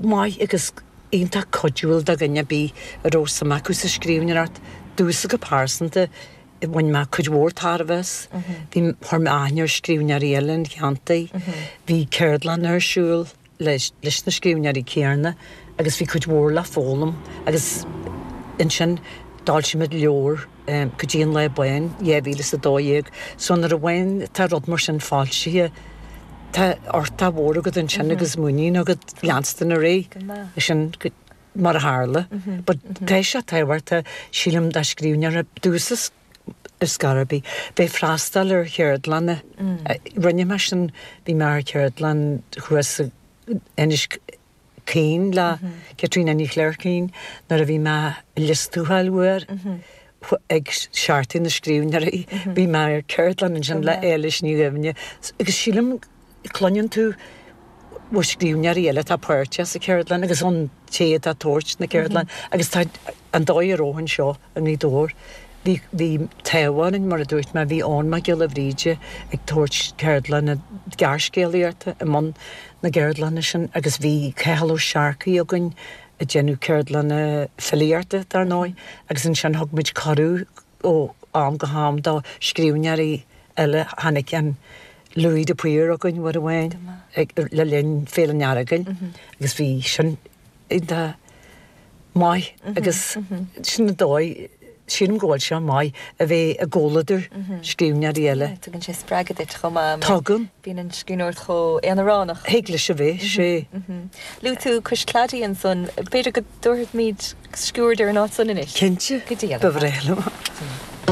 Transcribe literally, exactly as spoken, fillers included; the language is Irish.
maith agus iontach cuidiúil do dhuine ar bith a raibh suim acu sa scríbhneoireacht domhsa go pearsanta bhain mé cuid mhór tairbhe as. Bhí chuir mé aithne ar scríbhneoirí eile an cheantair, bhí ceardlann ar siúl leis leis na scríbhneoirí céanna agus bhí cuid mhór le foghlaim agus ansin d'fhoilsigh muid leabhar Go dtí an Lá Bán dhá mhíle is a dó dhéag so nuair a bhain tá rud mar sin foilsithe tá uchtach mhór agat ansin agus muinín agat leanstan ar aghaidh sin mar a tharla. But tá sé tábhachtach sílim do scríbhneoir domhsa ar scor ar bith bheith freastal ar cheardlanna. Rinne mé sin bhí mé ar cheardlann thuas Inis Caoin le Caitríona Ní Chléirchín nuair a bhí mé i Lios Tuathail uair ag Seachtain na Scríbhneoirí bhí mé ar ceardlann ansin le Éilis Ní Dhuibhne agus sílim cluineann tú ó scríbhneoirí eile atá páirteach sa cheardlann agus ón té atá ag tabhairt na ceardlann agus tá an dóigh a raibh anseo i nGaoth Dobhair bhí bhí taobh orainn mar a dúirt mé bhí Eoin Mac Giolla Bhríde ag tabhairt ceardlanna gearrscéalaíochta i mbun na gceardlanna sin agus bhí Cathal Ó Searcaigh againn ag déanamh ceardlanna filíochta dar ndóigh agus ansin thug muid cuireadh ó am go ham do scríbhneoirí eile tháinig an Louis de Paor againn uair amháin le linn Féile an Earagail agus bhí sin iontach maith agus sin an dóigh sílim go bhfuil sé maith a bheith i gcomhluadar scríbhneoirí eile. Tugann sé spreagadh duit chomh maith. Tugann. Bíonn an scríbhneoireacht chomh aonaránach. Thig leis a bheith, sé. Luaigh tú Cois Cladaigh ansan, b'fhéidir go dtabharfaimid sciuird ar an áit san anois? Cinnte. Go dtí Ba bhreá liom.